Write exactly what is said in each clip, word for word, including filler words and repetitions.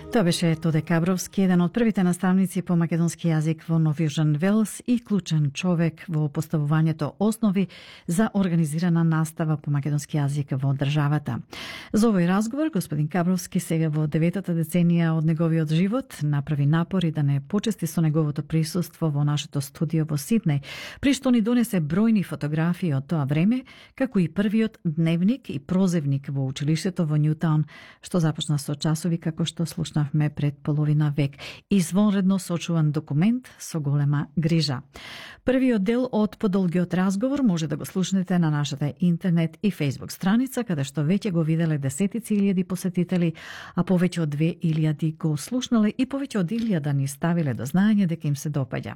Тоа беше Тоде Кабровски, еден од првите наставници по македонски јазик во Нов Јужен Велс и клучен човек во поставувањето основи за организирана настава по македонски јазик во државата. За овој разговор, господин Кабровски сега во деветата деценија од неговиот живот направи напори да не почести со неговото присуство во нашето студио во Сиднеј, при што ни донесе бројни фотографии од тоа време, како и првиот дневник и прозевник во училиштето во Њутаун, што започна со часови како што слушна пред половина век. Извонредно сочуван документ со голема грижа. Првиот дел од подолгиот разговор може да го слушнете на нашата интернет и фейсбук страница, каде што веќе го виделе десетици илјади посетители, а повеќе од две илјади го слушнале и повеќе од илјада ни ставиле до знаење дека им се допаѓа.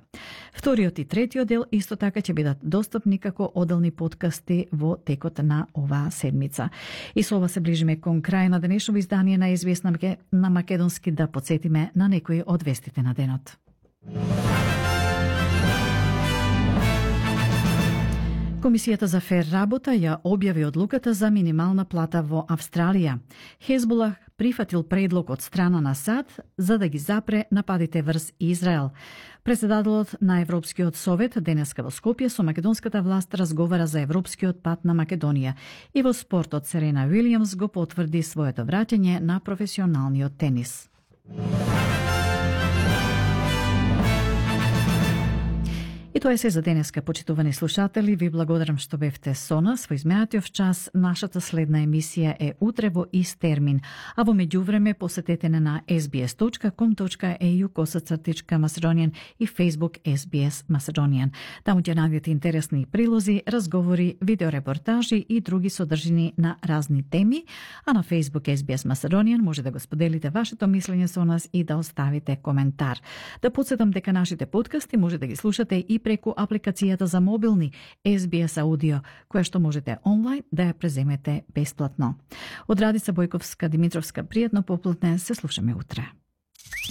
Вториот и третиот дел исто така ќе бидат достапни како одделни подкасти во текот на оваа седмица. И со ова се ближиме кон крај на денешното издание на ес би ес на македонски, да подсетиме на некои од вестите на денот. Комисијата за фер работа ја објави одлуката за минимална плата во Австралија. Хезболах прифатил предлог од страна на САД за да ги запре нападите врз Израел. Председателот на Европскиот совет денеска во Скопје со македонската власт разговара за европскиот пат на Македонија и во спортот Серена Уилјамс го потврди своето враќање на професионалниот тенис. И тоа е се за денеска, почитувани слушатели. Ви благодарам што бевте со нас во изминатиот час. Нашата следна емисија е утре во ист термин, а во меѓувреме посетете на ес би ес точка ком точка е ю косацртичка Macedonian и Facebook ес би ес Macedonian. Таму ќе најдете интересни прилози, разговори, видеорепортажи и други содржини на разни теми, а на Facebook ес би ес Macedonian може да го споделите вашето мислење со нас и да оставите коментар. Да подсетам дека нашите подкасти може да ги слушате и преку апликацијата за мобилни ес би ес Audio, која што можете онлайн да ја преземете бесплатно. Од Радица Бојковска Димитровска, пријатно поплатне, се слушаме утре.